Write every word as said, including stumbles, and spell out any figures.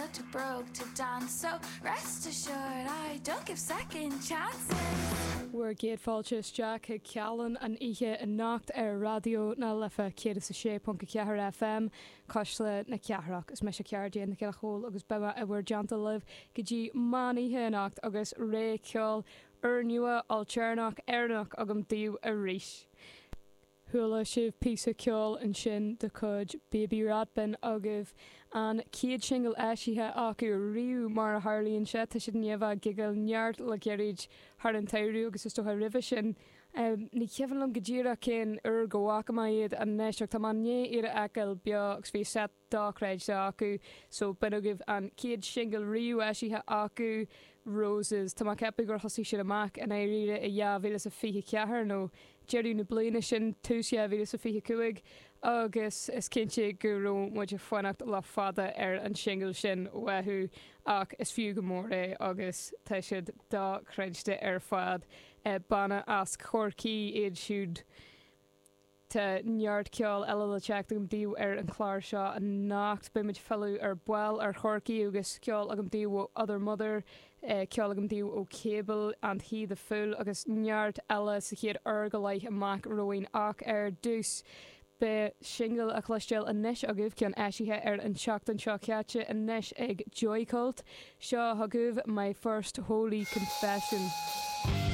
You're too broke to dance, so rest assured I don't give second chances. Bhur gcéad fáilte isteach chuig Cealann an oíche anocht ar Raidió na Life céad is a sé ponc a ceathair FM Cuisle na Cathrach. Is mise Ceardéan na Ceachóil agus beidh mé i bhur dteannta libh go dtí meán oíche anocht agus rogha ceoil úrnua ailtéarnach Éireannach agam daoibh arís. Chuala sibh píosa ceoil ansin de chuid Baby Rat b'in agaibh an chéad singil eisithe acu riamh mar a tharlaíonn sé tá siad i ndiaidh a bheith ag gigeáil neart le gairid thar an tsamhradh agus is dócha roimhe sin. Um, ní cuimhin liom go díreach cén uair go bhfaca mé iad anois ach tá mé i ndiaidh iad a fheiceáil beo agus bhí set dochreidte acu so b'in agaibh an chéad singil riamh eisithe acu Roses. Tá mé ag ceapadh gur thosaigh siad amach in éiríre i dhá mhíle is a fiche ceathair nó deireadh na bliana sin tús dhá mhíle is a fiche cúig agus is cinnte go raibh muid ag fanacht le fada ar an singil sin uathu ach is fiú go mór é agus tá siad dochreidte ar fad. Eh, banna as Corcaigh iad siúd. Tá neart ceol eile le teacht agam daoibh ar an chlár seo anocht beimid ag filleadh ar ball ar Chorcaigh agus ceol agam daoibh ó Other Mother, eh, ceol agam daoibh ó Cable and He the Fool agus neart eile sa chéad uair go leith amach romhainn ach ar dtús. Beidh singil a chloisteáil anois agaibh ceann eisithe ar an tseachtain seo caite anois ag Joycult, seo chugaibh My First Holy Confession.